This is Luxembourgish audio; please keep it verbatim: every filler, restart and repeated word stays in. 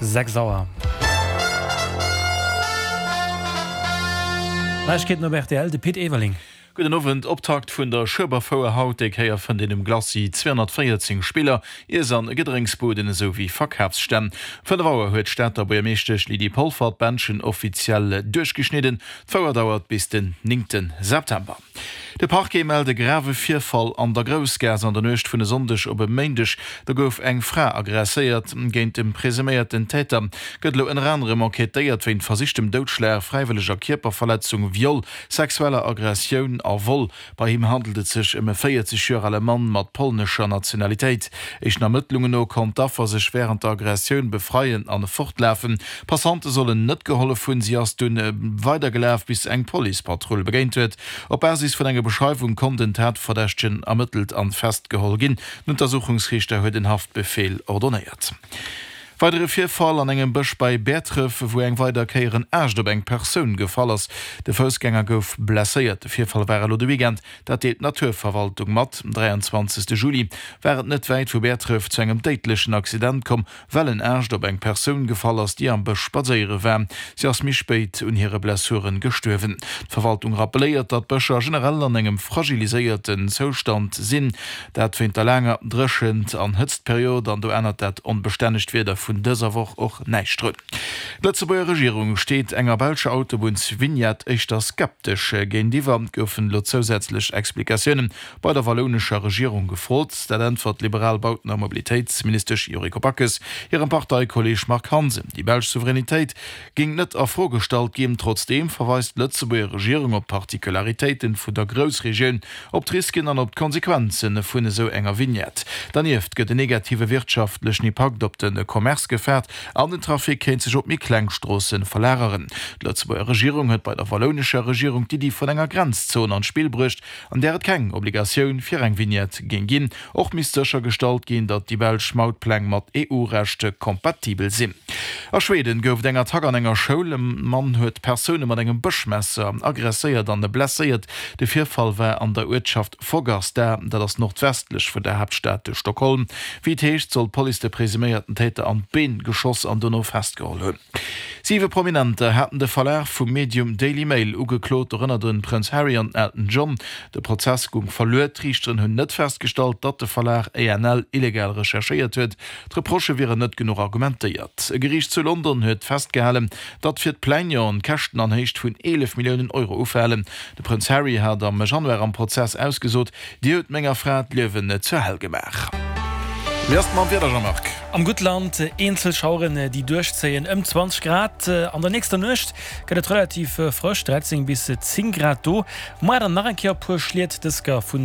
Sechs Auer. Neiegkeeten op rtl, de Pit Everling. Gudden Owend. Optakt vun der Schueberfouer haut, déi Kéier fënnt een um Glacis zweehonnertvéierzéng Spiller, Iess an Gedrénksbuden esou wéi Verkafsstänn. Fënnef Auer huet d'Stater Buergermeeschtesch Lydie Polfer d'Bändchen offiziell duerchgeschnidden. D'Fouer dauert bis den néngte September. De Parquet mellt e grave Virfall an der Groussgaass an der Nuecht vun e Sonndeg op e Méindeg. Do gouf eng Fra aggresséiert. Géint de presuméierten Täter gëtt elo ënner anerem enquêtéiert wéint versichtem Doudschlag, fräiwëlleger Kierperverletzung, Viol, sexueller Aggressioun a Vol. Bei him handelt et sech ëm e véierzeg Joer ale Mann mat polnescher Nationalitéit. Éischten Ermëttlungen no konnt d'Affer sech wärend der Aggressioun befreien an fortlafen. Passante sollen net gehollef hunn. Si ass dunn weidergelaf, bis se eng Policepatrull begéint huet. Op Basis vun enger Beschreiwung konnt den Tatverdächtegen ermëttelt an festgeholl ginn. Den Untersuchungsriichter huet en Haftbefeel ordonnéiert. Weidere Virfall an engem Bësch bei Bäertref, wou eng weider Kéier en Aascht op eng Persoun gefall ass. De Foussgänger gouf blesséiert. De Virfall war elo de Weekend, dat deelt d'Naturverwaltung mat. Um dräianzwanzegste Juli war et net wäit vu Bäertref zu engem déidlechen Accident komm, well en Aascht op eng Persoun gefall ass, déi am Bësch spadséiere war. Si ass méi spéit un hire Blessuren gestuerwen. D'Verwaltung rappelléiert, datt d'Bëscher generell an engem fragiliséierten Zoustand sinn. Dat wéint der laanger Dréchent an Hëtztperiod an do ännert dat onbestännegt Wieder vun dëser Woch och näischt drun. D'Lëtzebuerger Regierung steet enger belscher Autobunnsvignette éischter skeptesch géintiwwer. Et goufen elo zousätzlech Explikatiounen bei der wallounescher Regierung gefrot. Dat äntwert d'liberal Bauten a Mobilitéitsministesch Yuriko Backes hirem Parteikolleeg Marc Hansen. Déi belsch Souveränitéit géing net a Fro gestallt ginn. Trotzdeem verweist d'Lëtzebuerger Regierung op d'Particularitéiten vun der Groussregioun, op d'Risken an op d'Konsequenze vun esou enger Vignette. Dernieft gëtt en negative wirtschaftlechen Impakt op de Commerce gefaart an den Trafic kéint sech op méi kleng Stroosse verlageren. D'Lëtzebuerger Regierung huet bei der wallounescher Regierung d'Iddi vun enger Grenzzon an d'Spill bruecht, an där et keng Obligatioun fir eng Vignette géing ginn. Och misst séchergestallt ginn, datt déi belsch Mautpläng mat E U-Recht kompatibel sinn. A Schweden gouf et eng Attack an enger Schoul. E Mann huet Persoune mat engem Bëschmesser aggresséiert an blesséiert. De Virfall war an der Uertschaft Fagersta, dat ass nordwestlech vun der Haaptstad Stockholm. Wéi et heescht, soll d'Police de presuméierten Täter an d'Been geschoss an dono festgeholl hunn. Siwe Prominenter haten de Verlag vum Medium Daily Mail ugeklot, dorënner de Prënz Harry an den Elton John. De Prozess goung verluer. D'Riichteren hunn net festgestallt, datt de Verlag A N L illegal recherchéiert huet. D'Reprochë wieren net genuch argumentéiert. E Geriicht zu London huet festgehalen, datt fir d'Plaignanten Käschten an Héicht vun eelef Milliounen Euro ufalen. De Prënz Harry hat am Januar am Prozess ausgesot, Dir hutt menger Fra d'Liewen zur Hell gemaach. Wéi ass et mam Wieder, Jean-Marc? Am Guttland eenzel Schaueren, déi duerchzéien, ëm zwanzeg Grad. An der nächster Nuecht gëtt et relativ frësch, dräizéng bis zéng Grad do. Muer dann nach eng Kéier e puer Schliet, dës Kéier vun